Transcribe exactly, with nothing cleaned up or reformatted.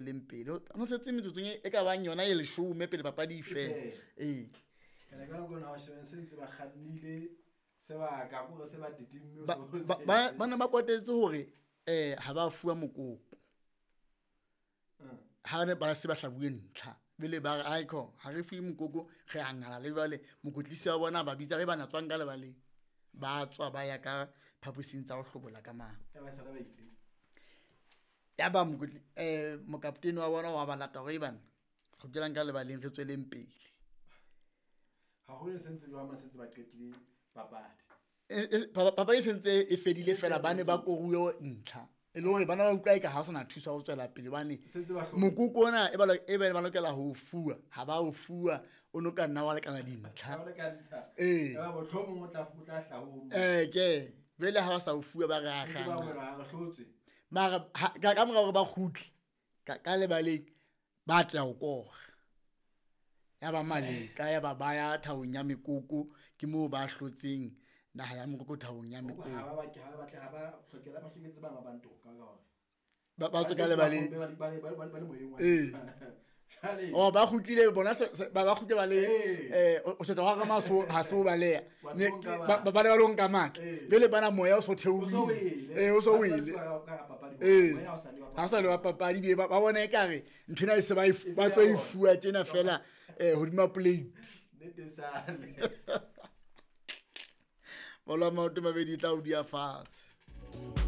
Leng pele no setse metsotsong e ka bang yona e leshome pele papadi e fela. Ee, ba ne ba kwatetse hore um ha ba fuwa mokoko ha ne ba se ba hlabuwe ntlha bele ba re aiko ha re fuwe mokoko re a ngala. Le jwale mokotlisi wa bona ba bitsa re bana tswang ka lebaleng, ba tswa ba ya ka phaposing tsa ho hlobola ka mane. Ya ba mokotli um mokaptene wa bona wa ba lata hore bana kgutlelang ka lebaleng re tsweleng pele. Haholo se ntse jwang se ntse ba qetile papadi. Papadi e sentse e fedile fela ba ne ba koruwe ntlha e le hore bana ba utlwa eka ha ho sana thuso ho tswela pele hobane mokoko ona e ba e ba lokela ho fuwa ha ba o fuwa o no ka nna wa lekana dintlha. Ee, eh ke bele ha ba sa o fuwa ba re akga mara ka mora hore ba kgutle ka lebaleng ba tla o kora ya ba maleka ya ba ba ya thabong ya mekoko ke moo ba hlotseng naha ya mokoko thabong ya mekoko. Ha ba ha ba ha ba hlokela ba hloketse bana ba ntoka ka hore ba ba tswe ka lebaleng ee oh ba kgutlile bona ba ba kgutle ba le eh o se twa ka maso ha se o baleha ba ba le ba lo nka matla bele bana moya o so theohile eh o so wele eh ha sa le wa papadi be ba bona ekare ntho ena e se ba ba tlo e fuwa tjena fela eh hodima plate nnete sale. Bolo ya maoto mabedi e tla o dia fatshe.